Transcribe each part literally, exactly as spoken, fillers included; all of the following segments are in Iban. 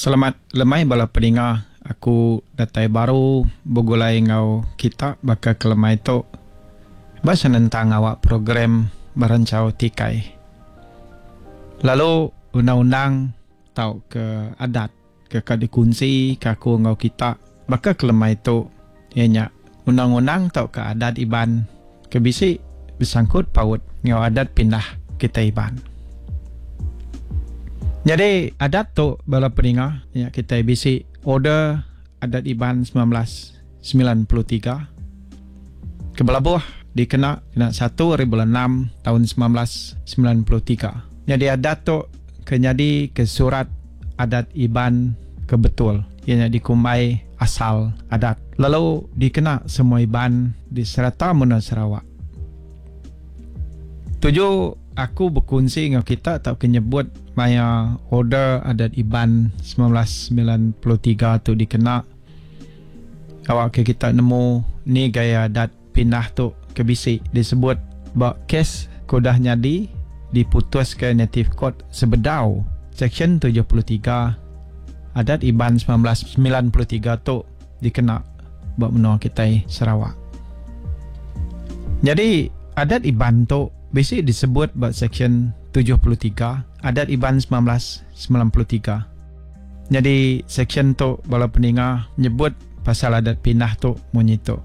Selamat lemai bala peninga, aku datai baru begulai enggau kita baka ke lemai tu ba senentang awak program Beranchau Tikai. Lalu undang-undang tauka adat ke ka dikunsi ke aku enggau kita baka ke lemai tu iya nya undang-undang tauka adat Iban ke bisi besangkut paut enggau adat pindah kitai Iban. Nyadi adat tu bala peninga nya kitai bisi Order Adat Iban semilan belas semilan puluh tiga ke belabuh dikena kena satu ari bulan enam taun semilan belas semilan puluh tiga. Nyadi adat tu ke nyadi ke surat adat Iban ke betul iya nya dikumbai asal adat lalu dikena semua Iban di serata menua Sarawak. Tuju aku bekunsi enggau kita tauka nyebut maya Order Adat Iban semilan belas semilan puluh tiga tu dikena awakka kita nemu ni gaya adat pindah tu ke bisi disebut ba kes ke udah nyadi diputuska Native Court sebedau Seksyen tujuh puluh tiga Adat Iban semilan belas semilan puluh tiga tu dikena ba menua kitai Sarawak. Nyadi Adat Iban tu bisi disebut ba Seksyen tujuh puluh tiga Adat Iban semilan belas semilan puluh tiga. Nyadi seksyen tu bala peninga nyebut pasal adat pindah tu munyi tu.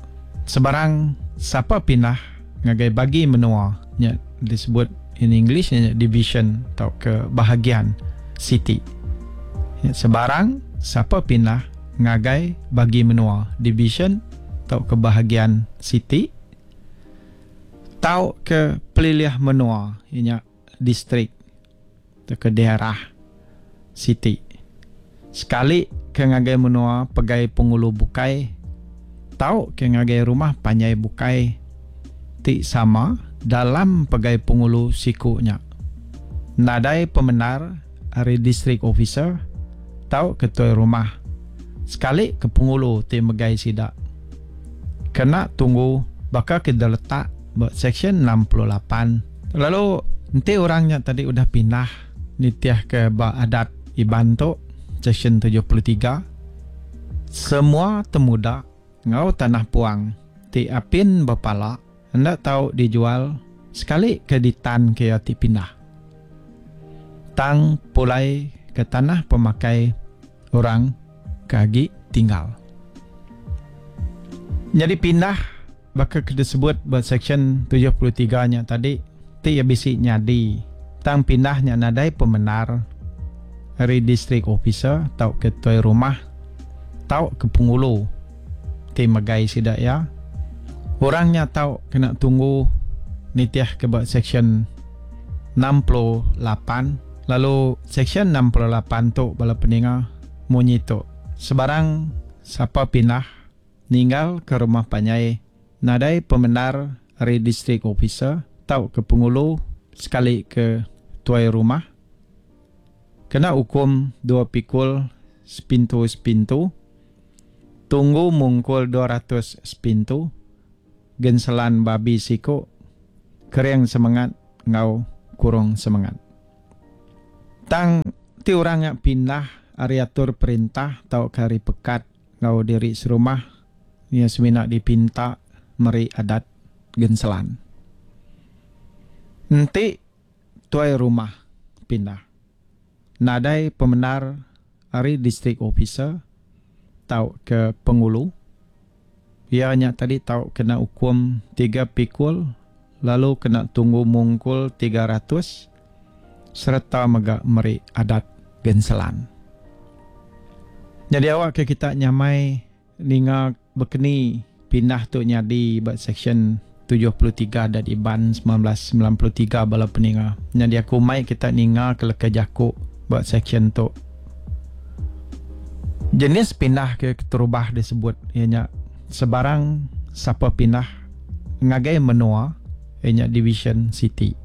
Sebarang sapa pindah ngagai bagi menua nya disebut in English nya division tauka bahagian siti. Nya sebarang sapa pindah ngagai bagi menua division tauka bahagian siti tauka pelilih menua iya nya distrik tauka daerah siti sekali ke ngagai menua pegai pengulu bukai tauka ngagai rumah panjai bukai ti sama dalam pegai pengulu siku nya nadai pemendar ari district officer tauka tuai rumah sekali ke pengulu ti megai sida kena tunggu baka ke diletak ba Seksyen enam puluh lapan. Lalu enti orang nya tadi udah pindah nitihka ba adat Iban tu, Seksyen tujuh puluh tiga, semua temuda enggau tanah puang ti apin bepala enda tau dijual sekali ke ditan ke iya ti pindah. Tang pulai ke tanah pemakai orang ke agi tinggal. Nyadi pindah baka ke disebut ba Seksyen tujuh puluh tiga nya tadi ti iya bisi nyadi tang pindah nya nadai pemendar ari district officer tauka tuai rumah tauka pengulu ti megai sida iya. Orang nya tau kena tunggu nitihka ba Seksyen enam puluh lapan lalu Seksyen enam puluh lapan tu bala peninga munyi tu sebarang sapa pindah ninggal ke rumah panjai nadai pemendar ari district officer tauka pengulu sekali ke tuai rumah kena ukum dua pikul sepintu-sepintu tunggu mungkul dua ratus sepintu genselan babi siku kering semengat enggau kurung semengat. Tang ti orang nya pindah ari atur perintah tauka ari pekat enggau diri serumah iya semina dipinta meri adat genselan. Enti tuai rumah pindah nadai pemendar ari district officer tauka pengulu iya nya tadi tau kena ukum tiga pikul lalu kena tunggu mungkul tiga ratus sereta mega meri adat genselan. Nyadi awak ke kita nyamai ninga bekeni pindah tu nyadi ba Seksyen tujuh puluh tiga Adat Iban semilan belas semilan puluh tiga bala peninga. Nyadi aku mai kita ninga ke leka jaku ba seksyen tu. Jenis pindah ke keterubah disebut iya nya sebarang sapa pindah ngagai menua iya nya division siti.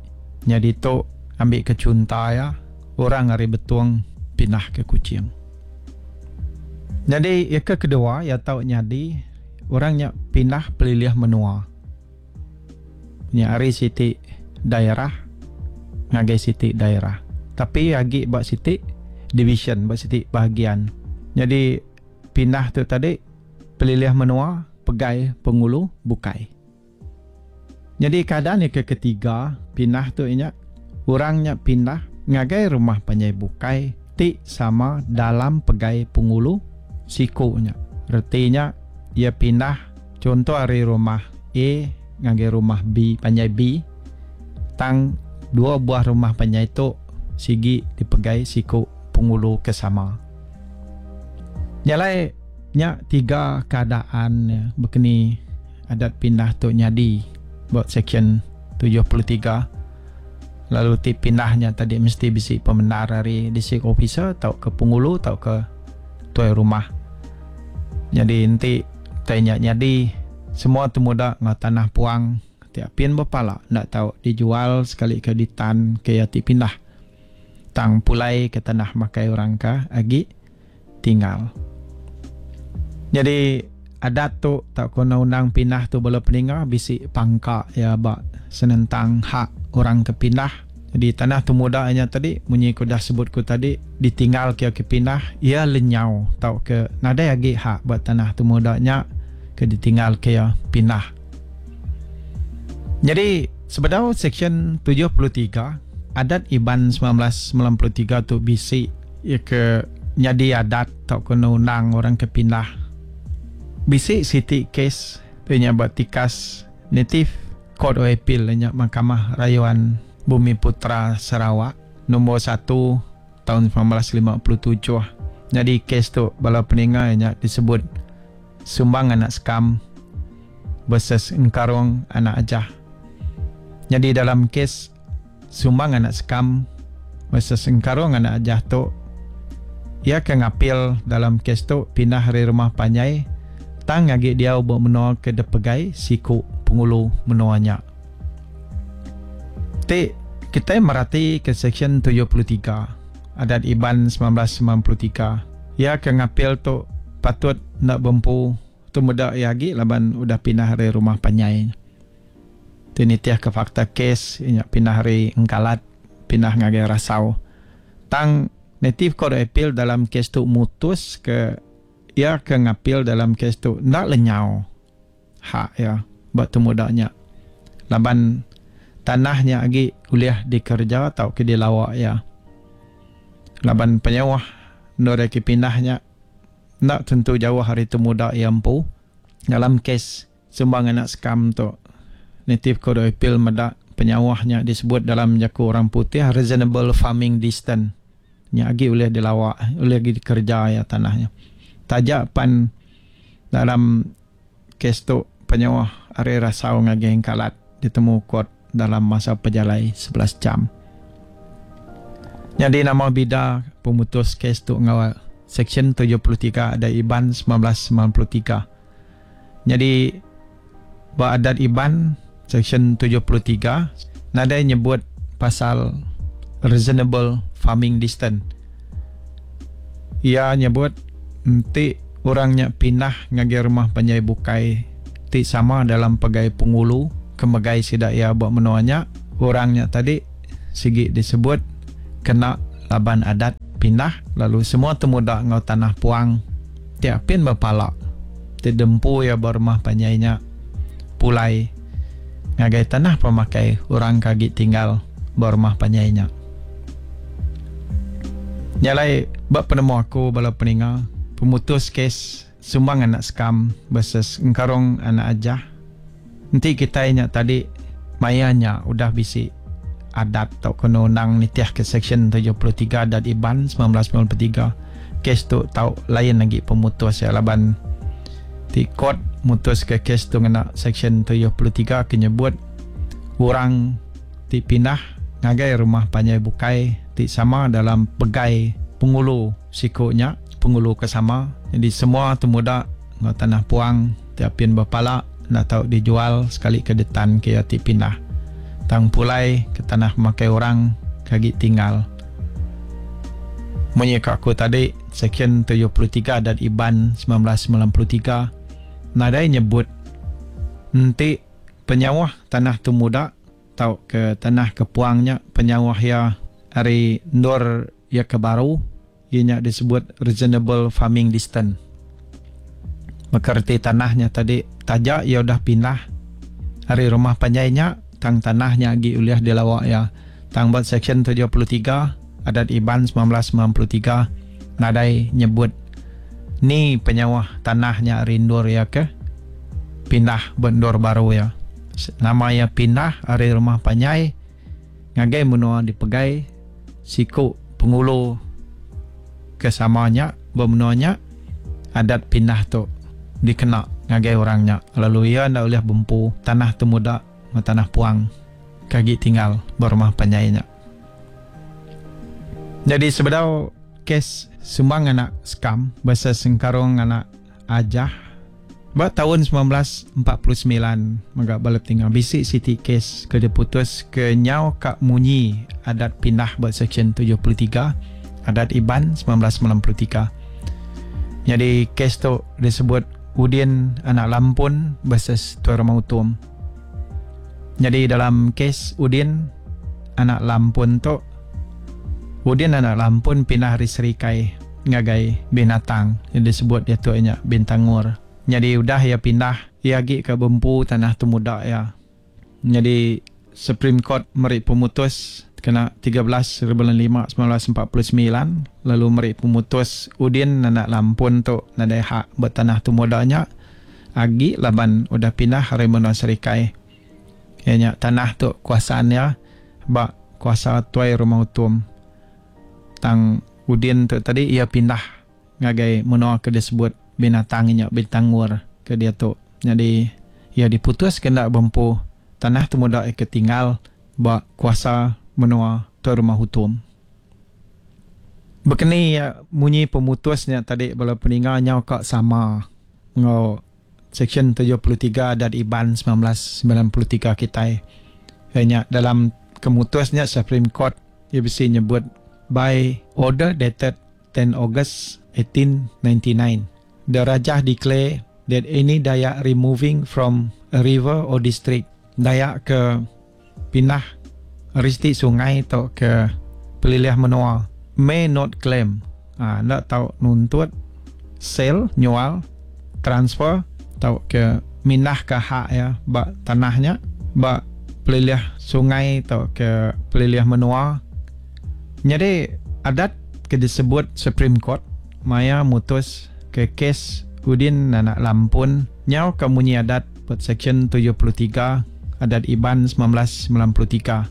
Nyadi tu ambi ke chunta iya orang ari Betong pindah ke Kuching. Nyadi iya ke kedua iya tau nyadi orang nya pindah pelilih menua. Nya ari siti daerah ngagai siti daerah. Tapi agi ba siti division, ba siti bahagian. Nyadi pindah tu tadi pelilih menua pegai pengulu bukai. Nyadi keadaan ke ketiga pindah tu nya orang nya pindah ngagai rumah panjai bukai ti sama dalam pegai pengulu siku nya. Retinya ia pindah contoh ari rumah A ngagai rumah B, panjai B, tang dua buah rumah panjai tu sigi dipegai siku pengulu ke sama. Nyalai nya tiga keadaan ya, bekeni adat pindah tu nyadi buat section tujuh puluh tiga. Lalu ti pindahnya tadi mesti bisi pemendar dari district officer atau ke pengulu atau ke tuai rumah. Jadi enti tanya nyadi semua temuda ngau tanah puang tiap pin berpala ndak tahu dijual sekali ke ditan ke ya ti pindah. Tang pulai ke tanah makai orang ka agi tinggal. Jadi adat tu tak kena undang pindah tu bala peninga bisi pangka ya ba senentang hak orang ke pindah. Jadi tanah tu mudanya tadi munyi ku dah sebut ku tadi ditinggal ke ke pindah ia lenyau tau ke nadai agi hak buat tanah tu mudanya ke ditinggal ke ya pindah. Jadi sebedau section tujuh puluh tiga adat Iban sembilan belas sembilan puluh tiga tu bisi ia ke nyadi adat tau kena undang orang ke pindah. Bisi siti kes tu nya buat tikas native Court of Appeal nya Mahkamah Rayuan Bumi Putra Sarawak nombor satu tahun sembilan belas lima puluh tujuh. Jadi kes tu bala peninga nya disebut Sumbang Anak Sekam versus Engkarong Anak Ajah. Jadi dalam kes Sumbang Anak Sekam versus Engkarong Anak Ajah tu ia ke ngapil dalam kes tu pindah dari rumah panjai tang agi dia buat menua ke depegai siku pengulu menuanya. Ti kita merati ke section tujuh puluh tiga adat Iban sembilan belas sembilan puluh tiga. Ia ke ngapil tu patut nak bempu tu muda ia agi laban udah pindah dari rumah panjai. Tu nitiah ke fakta kes inya pindah dari Engkalat pindah ngagai Rasau. Tang native court appeal dalam kes tu mutus ke ia ke ngapil dalam kes tu ndak lenyau hak ya buat tu mudanya. Laban tanahnya agi kuliah dikerja atau ke dilawak ya. Laban penyewah ndore ke pindahnya ndak tentu jauh hari tu muda ia empu. Dalam kes Sumbang Anak Sekam tu native court of appeal medak penyawahnya disebut dalam jaku orang putih reasonable farming distance. Nya agi oleh dilawak, oleh agi dikerja ya tanahnya. Tajak pan dalam kes tu penyawah ari Rasau ngagai Engkalat ditemu court dalam masa pejalai sebelas jam. Jadi nama bida pemutus kes tu ngawal section tujuh puluh tiga ada Iban sembilan belas sembilan puluh tiga. Jadi ba adat Iban section tujuh puluh tiga nadai nyebut pasal reasonable farming distance. Ia nyebut enti orangnya pindah ngagai rumah panjai bukai ti sama dalam pegai pengulu kemegai sida ia buat menuanya, orangnya tadi sigi disebut kena laban adat pindah lalu semua temuda ngau tanah puang tiap pin berpalak ti dempu ia berumah panjainya pulai ngagai tanah pemakai orang kagi tinggal berumah panjainya. Nyalai bab penemu aku bala peninga pemutus kes Sumbang Anak Sekam versus Engkarong Anak Ajah. Enti kita nya tadi mayanya udah bisi adat atau kena undang nitiah ke section tujuh puluh tiga adat Iban sembilan belas sembilan puluh tiga. Kes tu tau lain lagi pemutus ya laban ti court mutus ke kes tu ngena section tujuh puluh tiga ke nyebut orang ti pindah ngagai rumah panjai bukai ti sama dalam pegai pengulu sikunya pengulu ke sama. Jadi semua temuda ngau tanah puang tiapin berpala nak tau dijual sekali ke detan ke ti pindah tang pulai ke tanah makai orang kagi tinggal. Munyi ka aku tadi section tujuh puluh tiga dan Iban sembilan belas sembilan puluh tiga nadai nyebut enti penyawah tanah tu muda tau ke tanah ke puangnya penyawah ya ari ndor ya ke baru Iya nya disebut reasonable farming distance. Maka reti tanahnya tadi taja ia udah pindah ari rumah panjai nya tang tanahnya agi ulih dilawa ya. Tang ba section tujuh puluh tiga Adat Iban sembilan belas sembilan puluh tiga nadai nyebut ni penyauh tanahnya rindur ya ke pindah bendur baru ya. Nama ya pindah ari rumah panjai ngagai menua dipegai siku pengulu ke samanya bermenuanya adat pindah tu dikena ngagai orangnya lalu ia ndak boleh bempu tanah temuda tanah puang kagi tinggal berumah panjainya. Jadi sebedau kes Sumbang anak Skam versus Sengkarong anak Ajah ba tahun sembilan belas empat puluh sembilan mega bala tinggal bisi siti kes ke diputus ke nyau ka munyi adat pindah ba section tujuh puluh tiga Adat Iban sembilan belas sembilan puluh tiga. Jadi kes tu disebut Udin anak Lampun versus Tuai Rumah Utum. Jadi dalam kes Udin anak Lampun tu, Udin anak Lampun pindah dari Serikai ngagai Binatang yang disebut dia tu nya Bintangur. Jadi udah ia pindah, ia agi ke bempu tanah temuda ya. Jadi Supreme Court meri pemutus kena tiga belas bulan lima sembilan belas empat puluh sembilan lalu meri pemutus Udin anak Lampun tu nadai hak bertanah temudanya agi laban udah pindah hari menua Serikai. Ianya tanah tu kuasaannya ba kuasa Tuai Rumah Utum. Tang Udin tu tadi ia pindah ngagai menua ke disebut Binatang nya Bintangur ke dia tu. Jadi ia diputus kena bempu tanah temuda ke tinggal ba kuasa menua Tuai Rumah Utum. Bekeni ya munyi pemutusnya tadi bala peninga nyau ka sama ngau section tujuh puluh tiga Adat Iban sembilan belas sembilan puluh tiga kitai. Nya dalam kemutusnya Supreme Court ia bisi nyebut by order dated ten August eighteen ninety-nine the Rajah declare that any Dayak removing from a river or district, Dayak ke pindah risti sungai atau ke pelilih menua may not claim, ha, ndak tau nuntut sell, nyual, transfer atau ke mindah ke hak ya ba tanahnya ba pelilih sungai atau ke pelilih menua. Jadi adat ke disebut Supreme Court maya mutus ke kes Udin anak Lampun nyau ke munyi adat per section tujuh puluh tiga Adat Iban sembilan belas sembilan puluh tiga.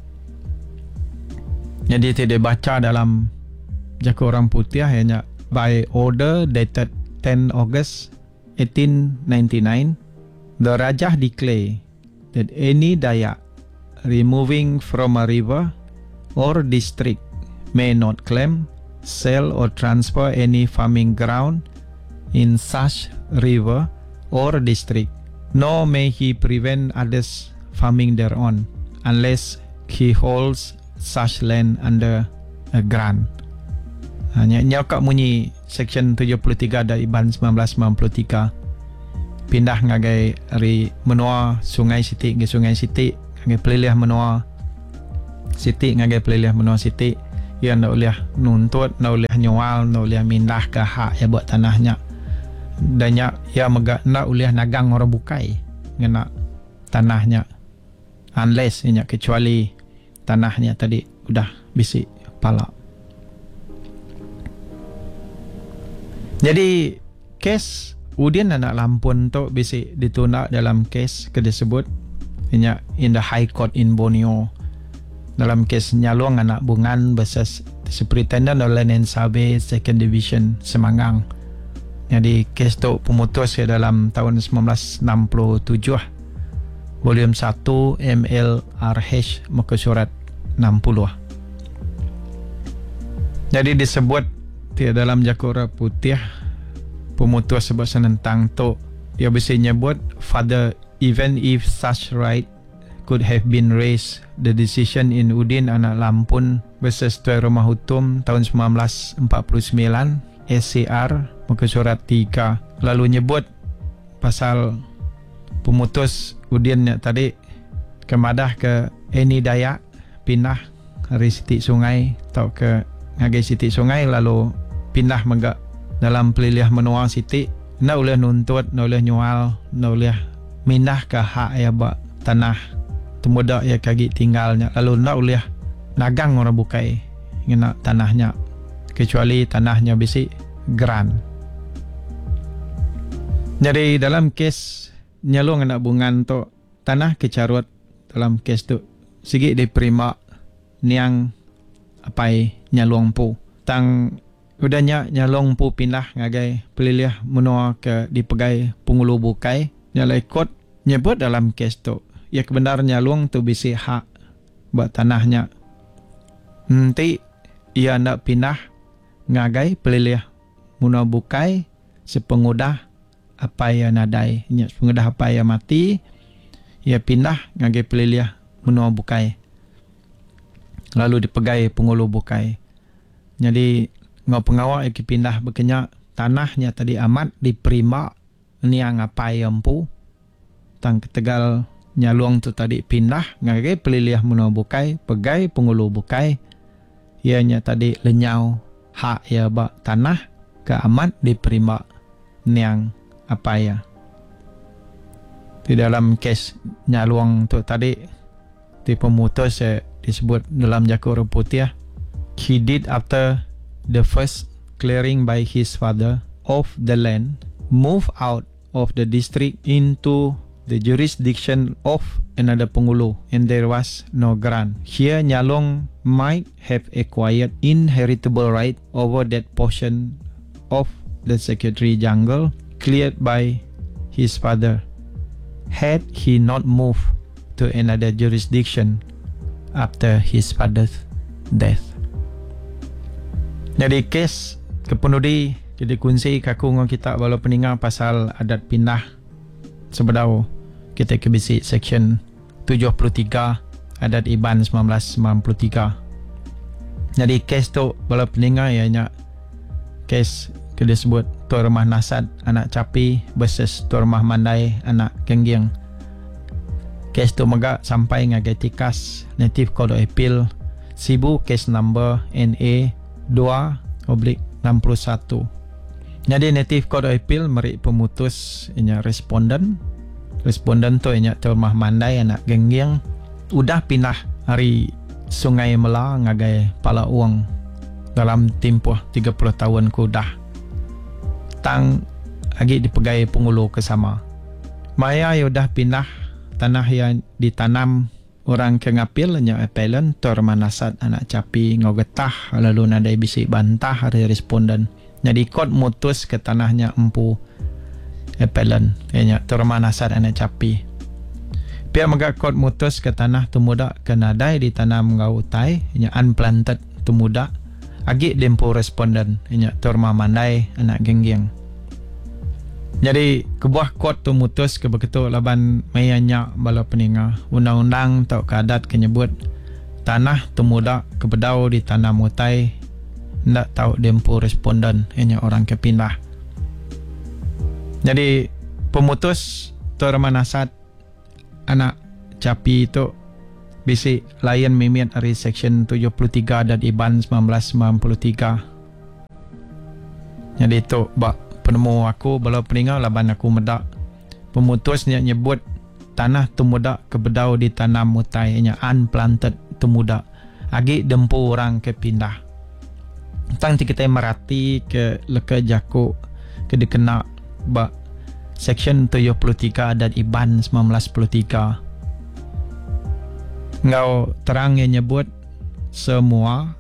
Jadi tidak baca dalam jaku orang putih hanya by order dated ten August eighteen ninety-nine the Rajah declare that any Dayak removing from a river or district may not claim, sell or transfer any farming ground in such river or district, nor may he prevent others farming thereon unless he holds such land under a grant. Hanya nyau kak munyi section tujuh puluh tiga dari Iban sembilan belas sembilan puluh tiga pindah ngagai ari menua Sungai Siti ke Sungai Siti ngagai pelilih menua Siti ngagai pelilih menua Siti. Ia ndak boleh nuntut, ndak boleh nyual, ndak boleh mindah ke hak ya buat tanahnya. Dan nya ia mega ndak boleh nagang orang bukai ngena tanahnya unless nya kecuali tanahnya tadi udah bisi pala. Jadi kes Udin anak Lampun tu bisi ditunda dalam kes ke disebut nya in the High Court in Borneo dalam kes Nyalong anak Bungan versus Superintendent of Land and Survey Second Division Semanggang. Jadi kes tu pemutus ke dalam tahun sembilan belas enam puluh tujuh volume satu M L R H muka surat enam puluh. Jadi disebut di dalam Jakura Putih pemutus sebab senentang tu ia bisa nyebut father even if such right could have been raised the decision in Udin anak Lampun versus Tuai Rumah Utum tahun sembilan belas empat puluh sembilan S C R muka surat tiga lalu nyebut pasal pemutus Udin nya tadi kemadah ke Eni Dayak pindah dari siti sungai atau ke ngagai siti sungai lalu pindah mega dalam pelilih menua siti enda ulih nuntut, enda ulih nyual, enda ulih mindahka hak iya ba tanah temuda iya ke agi tinggal nya lalu enda ulih nagang orang bukai ngena tanah nya kecuali tanah nya bisi geran. Nyadi dalam kes Nyalong anak Bungan tu, tanah ke charut dalam kes tu sigi diperima niang apai Nyalong empu. Tang udah nya Nyalong empu pindah ngagai pelilih menua ke dipegai pengulu bukai. Nya alai kot nyebut dalam kes tu, iya ke bendar Nyalong tu bisi hak ba tanah nya enti iya enda pindah ngagai pelilih menua bukai sepengudah apai iya nadai. Nya sepengudah apai iya mati, iya pindah ngagai pelilih menua bukai lalu dipegai pengulu bukai. Nyadi enggau pengawa iya ke pindah baka nya, tanah nya tadi amat diperimba niang apai iya empu. Tang ketegal Nyalong tu tadi pindah ngagai pelilih menua bukai, pegai pengulu bukai, iya nya tadi lenyau hak iya ba tanah ke amat diperimba niang apai iya. Ti dalam kes Nyalong tu tadi ti pemutus iya disebut dalam jaku orang putih, he did after the first clearing by his father of the land, move out of the district into the jurisdiction of another pengulu and there was no grant. Here Nyalong might have acquired inheritable right over that portion of the secretary jungle cleared by his father had he not moved to another jurisdiction after his father's death. Nyadi kes ke penudi ke dikunsi ke aku enggau kita bala peninga pasal adat pindah sebedau kita ke bisi seksyen tujuh puluh tiga Adat Iban semilan belas semilan puluh tiga. Nyadi kes tu bala peninga iya nya kes ke disebut Tuai Rumah Nasat anak Chapi versus Tuai Rumah Mandai anak Gengging. Kes tu mega sampai ngagai tikas Native Court of Appeal Sibu kes number N A dua oblique enam puluh satu. Nyadi Native Court of Appeal meri pemutus inya responden. Responden tu inya Tuai Rumah Mandai anak Gengging udah pindah ari Sungai Mela ngagai Pala Ong dalam timpuh tiga puluh taun ke udah. Tang agi dipegai pengulu ke sama. Maya iya udah pindah, tanah iya ditanam orang ke ngapil nya appellant Tuai Rumah Nasat anak Chapi enggau getah lalu nadai bisi bantah ari responden. Nyadi kot mutus ke tanah nya empu appellant iya nya Tuai Rumah Nasat anak Chapi. Pia mega kot mutus ke tanah temuda ke nadai ditanam enggau utai nya unplanted temuda agi diempu responden iya nya Tuai Rumah Mandai anak Gengging. Nyadi kebuah kot tu mutus ke beketu laban maya nya bala peninga undang-undang tauka adat ke nyebut tanah temuda ke bedau ditanam utai enda tau diempu responden iya nya orang ke pindah. Nyadi pemutus Tuai Rumah Nasat anak Chapi tu bisi lain mimit ari seksyen tujuh puluh tiga Adat Iban semilan belas semilan puluh tiga. Nyadi tu ba penemu aku bala peninga laban aku meda pemutus nya nyebut tanah temuda ke bedau ditanam utai nya unplanted temuda agi dempu orang ke pindah. Tang ti kitai merati ke leka jaku ke dikena ba seksyen tujuh puluh tiga Adat Iban semilan belas puluh tiga enggau terang iya nyebut semua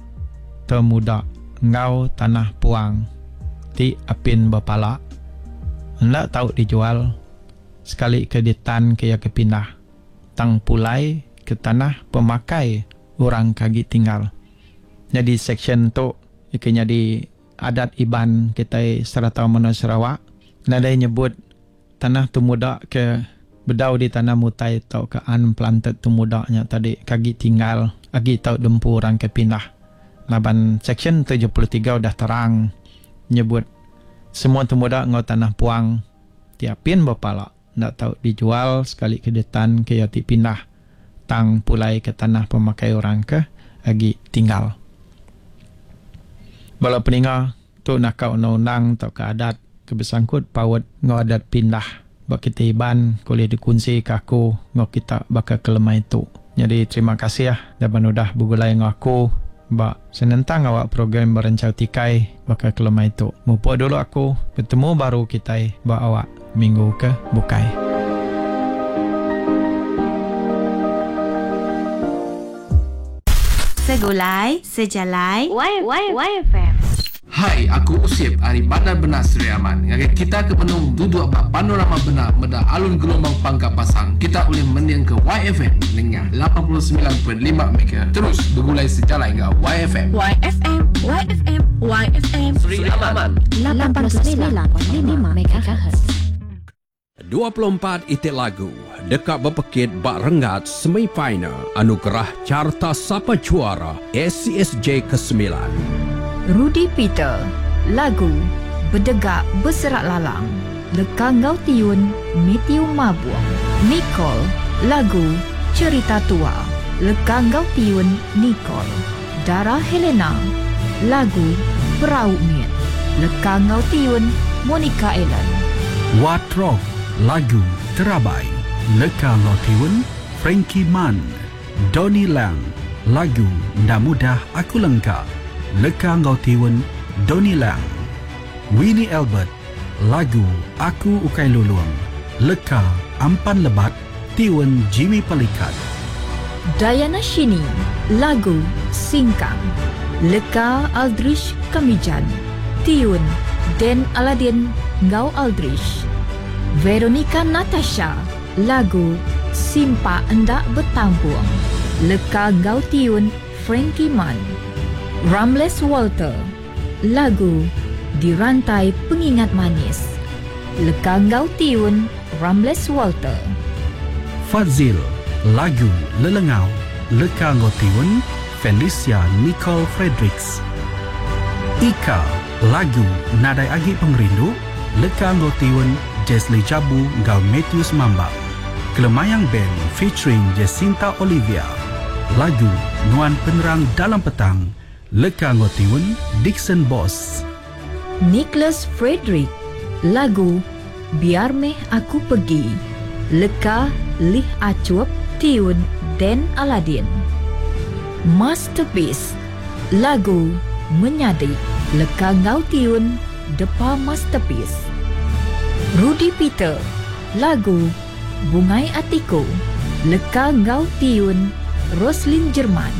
temuda enggau tanah puang ti apin bepala enda tau dijual sekali ke ditan ke iya ke pindah tang pulai ke tanah pemakai orang ke agi tinggal. Nyadi seksyen tu ke nyadi adat Iban kitai serata menua Sarawak nadai nyebut tanah temuda ke bedau ditanam utai tauka unplanted temuda nya tadi ke agi tinggal agi tau dempu orang ke pindah. Laban seksyen tujuh puluh tiga udah terang nyebut semua temuda enggau tanah puang ti apin bepala enda tau dijual sekali ke ditan ke iya ti pindah tang pulai ke tanah pemakai orang ke agi tinggal. Bala peninga Tu naka undang-undang tauka adat ke besangkut paut enggau adat pindah ba kitai Iban ke ulih dikunsika aku enggau kita baka ke lemai tu. Nyadi terima kasih laban udah begulai enggau aku ba senentang awak program Beranchau Tikai baka ke lemai tu. Mupuk dulu aku, betemu baru kitai ba awak minggu ke bukai. Segulai Sejalai Y Y YFM. Hai, aku Usip ari Bandar Benak Sri Aman. Ngagai kita ke benung duduk ba Panorama Benak meda alun gelombang pangka pasang, kita ulih mending ke Y F M nengah lapan puluh semilan point lima MHz. Terus begulai sejalai enggau Y F M. Y F M, Y F M, Y F M. Sri Aman. lapan puluh semilan point lima MHz. dua puluh empat itik lagu dekat berpekit bak renggat semifinal anugerah Carta Sapa Juara A C S J kesembilan. Rudy Peter, lagu Bedegak Berserak Lalang, Leka Ngau Tiun, Matthew Mabuang. Nicole, lagu Cerita Tua, Leka Ngau Tiun, Nicole. Dara Helena, lagu Perau Miet, Leka Ngau Tiun, Monica Ellen. What Rock, lagu Terabai, Leka Ngau Tiun, Frankie Mann. Donny Lang, lagu Nda Mudah Aku Lengka, Leka Ngau Tiun, Donny Lang. Winnie Albert, lagu Aku Ukai Lulung, Leka Ampan Lebat, Tiun Jimmy Pelikat. Diana Shini, lagu Singkang, Leka Aldrich Kamijan, Tiun Den Aladin Ngau Aldrich. Veronica Natasha, lagu Simpa Endak Bertampung, Leka Ngau Tiun Frankie Mann. Ramles Walter, lagu Dirantai Pengingat Manis, Leka Ngau Tiun Ramles Walter. Fazil, lagu Lelengau, Leka Ngau Tiun Felicia Nicole Fredericks. Ika, lagu Nadai Agi Pengerindu, Leka Ngau Tiun Jesly Jabu Ngau Matthews Mambang. Kelemayang Band featuring Jacinta Olivia, lagu Nuan Penerang Dalam Petang, Leka Ngau Tiun Dixon Boss. Nicholas Frederick, lagu Biar Meh Aku Pergi, Leka Lih Acup, Tiun Den Aladin. Masterpiece, lagu Menyadik, Leka Ngau Tiun Depa Masterpiece. Rudy Peter, lagu Bungai Atiku, Leka Ngau Tiun Roslin Jerman.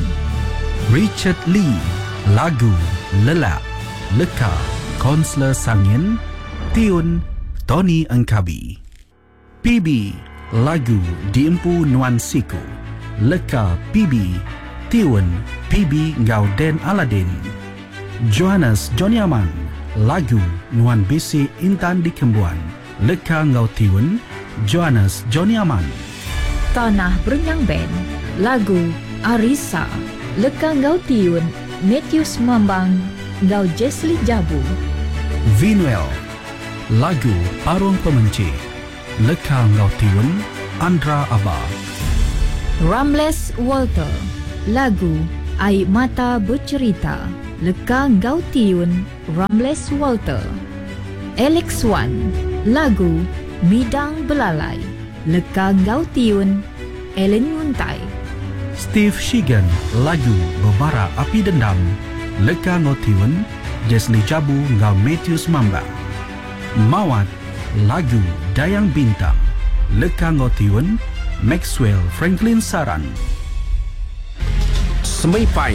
Richard Lee, lagu Lelak, Leka Konsler Sangin, Tiun Tony Engkabi. P B, lagu Diempu Nuan Siku, Leka P B, Tiun P B Ngau Den Aladin. Johannes Johnny Aman, lagu Nuan Bisi Intan Dikembuan, Leka Ngau Tiun Johannes Johnny Aman. Tanah Berenyang Band, lagu Arisa, Leka Ngau Tiun Matthews Mambang Ngau Jesly Jabu. Vinuel, lagu Parung Pemenci, Leka Ngau Tiun Andra Aba. Ramles Walter, lagu Air Mata Bercerita, Leka Ngau Tiun Ramles Walter. Alex Wan, lagu Midang Belalai, Leka Ngau Tiun Ellen Nguntai. Steve Shigan, lagu Bebara Api Dendam, Leka Ngau Tiun Jesly Jabu Ngau Matthews Mambang. Mawat, lagu Dayang Bintang, Leka Ngau Tiun Maxwell Franklin Saran. Semifinal